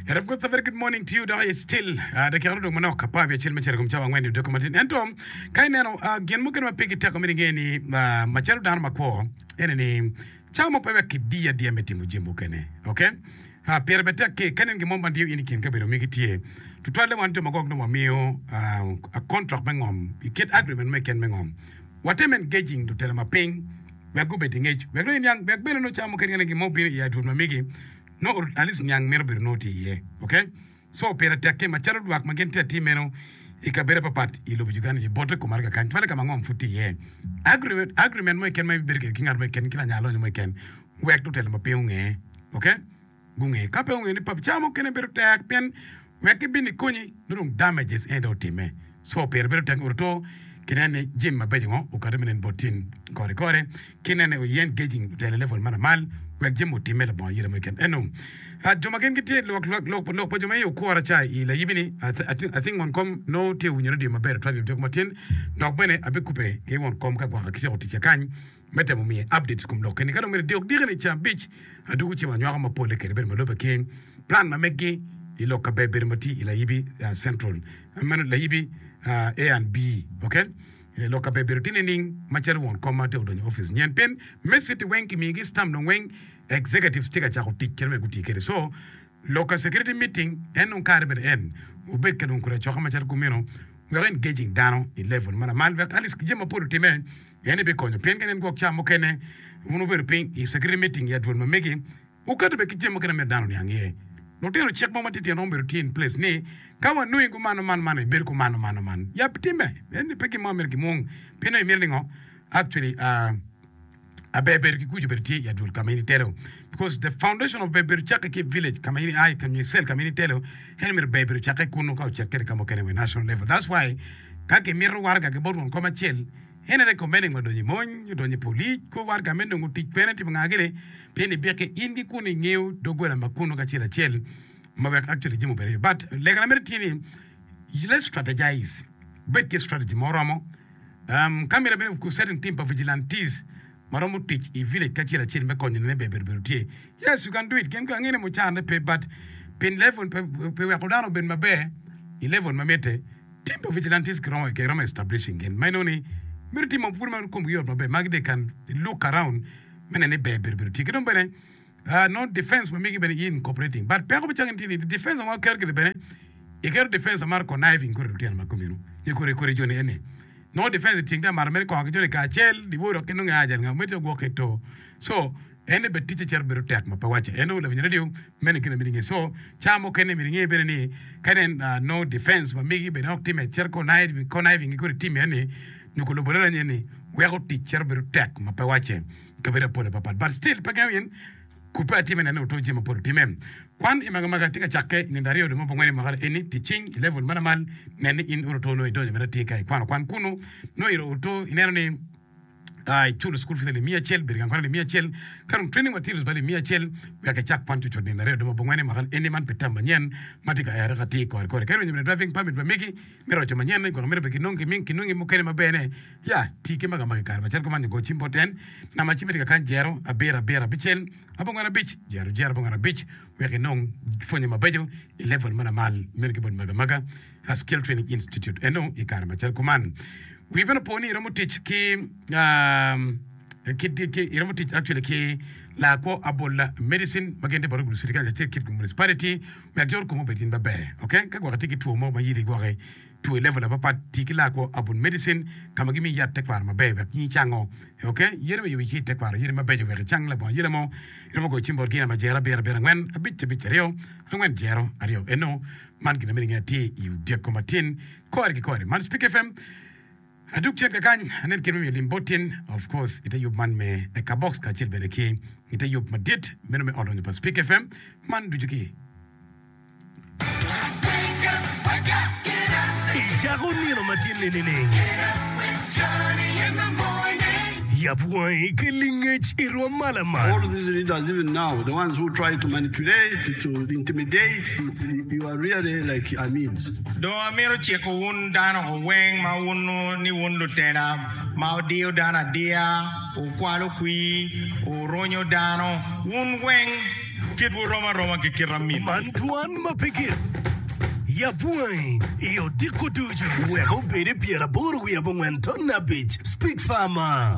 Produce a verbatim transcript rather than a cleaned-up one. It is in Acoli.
And of course, a very good morning to you. Dok it's still uh, dakika dong manok apar wiye acel me cito i kom cawa angwen i odiko matin. Ento ka ineno uh, gin mukene ma pe giteko me nge ni uh, macalo dano makwo ene ni cawa mo pe wek kidiyi adiya me timo jami mukene. Okay? Uh, pire bene tek ki ka inen gin mo ma diyo in i kin kabedo migi tye. Tutwalle wan jo ma gwok nongo wamiyo uh, a contract me ngom i kit agreement mo keken me ngom. Watem engaging lutela ma piny wek gubed i ngec wek nongo iniang wek bene nongo cawa mukene ka inen gin mo obino i adwol ma migi nongo at least niang mito bedo nongo tye iye. Okay? So pire tek ki macalo lwak ma gin tye atir meno i kabedo papat i lobo Uganda i bote kom arga kany twale ka ma ngom pud tye iye. Agreement, agreement mo keken ma ibibedo kwede ki ngat mo keken ki lanya lonyo mo keken wek lutela ma piny onge. Okay? Gunge. Ka pe onge ni pap cawa mukene bedo tek pien wek gibin ikonyi nongo dong damages ene dong otime. So pire bedo tek oruto kinen ni jami mabeco ngo okati me nen bot tin kore kore ki nene oye engaging lutela i level ma lamal wek jami otime labongo ayela mo keken. Eno jo ma gin gitye lok lok lok pa jo ma i okura ca i layibi ni I think won kom nongo tye winyo radio maber tutwal i odiko matin dok bene abikube ki won kom ka gwaka ki tyeko ticca kany me temo miye updates kom lok eni ka dong myero dok diki ni ca abic adugo cim anywako mapole kede bedo ma lube ki plan ma meggi i lok ka ber bedo ma tye i layibi central meno layibi A and B ok lok ka ber bedo tye nining macalo won kom ma tye odonyo i office nyen pien me city weng kimiyogi stamp dong weng executives tye ka cako tic kit ma guti kwede so lok ka security meeting en dong kare bene en obed ka dong kodi acoka macalo kumeno wek engaging dano i level ma lamal wek at least jami mapol otime en bikonyo pien ka inen gwok ca mukene wun wubedo piny i security meeting i adwol ma megi wuketo bene ki jami mukene ma myero dano oniang iye. Lutino cik mo matitino romo bedo tye in place ni ka wanongi kumano man man ibedo kumano mano man yab time en ni pe gin mo myero gimwong pien nongo imito ni ngo actually uh, aber bedo ki kuc obedo tye i adwol ka ma in itelo because the foundation of ber bedo cakke ki i village ka ma in ia nyo i cell ka ma in itelo en myero ber bedo cakke kunu ka ocit kwede ka mukene wa i national level that's why ka gimito waraga ki bot won kom acel en recommending odonyo i mony odonyo i polic kor waraga me nongo tic kwene timo nga gini pien ibike in ki kunu ingeyo doggola ma kunu kacel acel ma wek actually jami obed aye but legana mere tye ni let's strategize bed ki strategy ma oromo um, ka myero bene certain team pa vigilantes ma romo tic i village kacel acel me konyo nene ber bedo bedo tye yes you can do it gin ko angene mucarne pe but pin level pe, pe weko dano obed maber i level ma mitte team pa vigilantes kiromo kiromo establishing gin ma inongo ni myero timo pud ma komgi yot maber ma they can look around me neno ni ber bedo bedo tye ki dong bene uh, no defense ma migi bene in incorporating but peko bicako tye ni defense ma waketo kede bene iketo defense mar conniving kore lutino ma komino nyo kore kore joni eni no defense iting ta maro mere kongo ki joni kacel diwo dok ki nongo ajal nga mete ogwok ki to so en bene ticce cito bedo tek ma pe wacce en nongo lawiny radio meno gin ma myero inge so ca mukene myero inge bene ni ka inen uh, no defense ma migi bene ok time cito conniving conniving ki kore team eni nyo kulubo lelany eni weko tic cito bedo tek ma pe wacce kabedo apol papat but still pe gengo in kupe atime nene oto jami mapol otime kwan i magamaga tye ka cakke i nino aryo dwe me abongwen i mwaka eni tic cing i level ma lamal nen ni in oto nongo idonyo mere atir ka ikwano kwan kunu nongo iro oto ineno ni uh, iculo school fees alip miya acel bedo gang kwan alip miya acel ka dong training materials ba alip miya acel wek icak kwan cucut nino aryo dwe me abongwen i mwaka eni man pi term manyen ma tye ka ere ka tye kore kore ka irwenyo bene driving permit pa megi me roco manyen gwoko myero be kinong kinongi mukene maber-ne ya ti ki magamaga i kare macalo kuman nyo go cim bot en namba cimme tye kakany jero abiro abiro abicel abongwen abic jero jero abongwen abic wek inong pwonye mabeco i level ma lamal meno ki bot magamaga a Skill Training Institute eno i kare macalo kuman wi bene opo ni iromo tic ki um, ki, ki, iromo tic actually ki lakwo abola medicine ma gin tye bot Gulu City Council acel Kitgum Municipality wek jo kom obed gin maber okay ka gwoko tye ki two mo ma yili gwoki two i level apapat ti ki lakwo abol medicine ka ma gimiyi yat tekwaro maber wek in icango okay yene me yubo ki i tekwaro yene mabeco wek icang labongo ayela mo iromo goyo cim bot gin ama jero abiro abiro angwen abic abic aryo angwen jero aryo eno man gin ma myero inge atir i odyeko matin kore ki kore man Speak FM Adug cen kakany anen kit me miyo lim bot tin of course ite yub man me Ekabox kacel bene ki ite yub madit meno me ot lonyo pa Speak FM man ducu ki Icako nino matin-ni nining? Yab wangi ki lingec i rwom ma lamal. All these leaders, even now, the ones who try to manipulate, to intimidate, to, you are really like Amins. Dong amito ciko wun dano weng ma wunnu ni wun lutela ma wudiyo dano adiya, wukwalo kwir, wurunyo dano, wun weng kitwu rom aroma ki kit amin. Man dwan ma pe gik. Yab wangi i odiko ducu wek obed i pyeraboro wiye abongwen ton abic. Speak Farmer.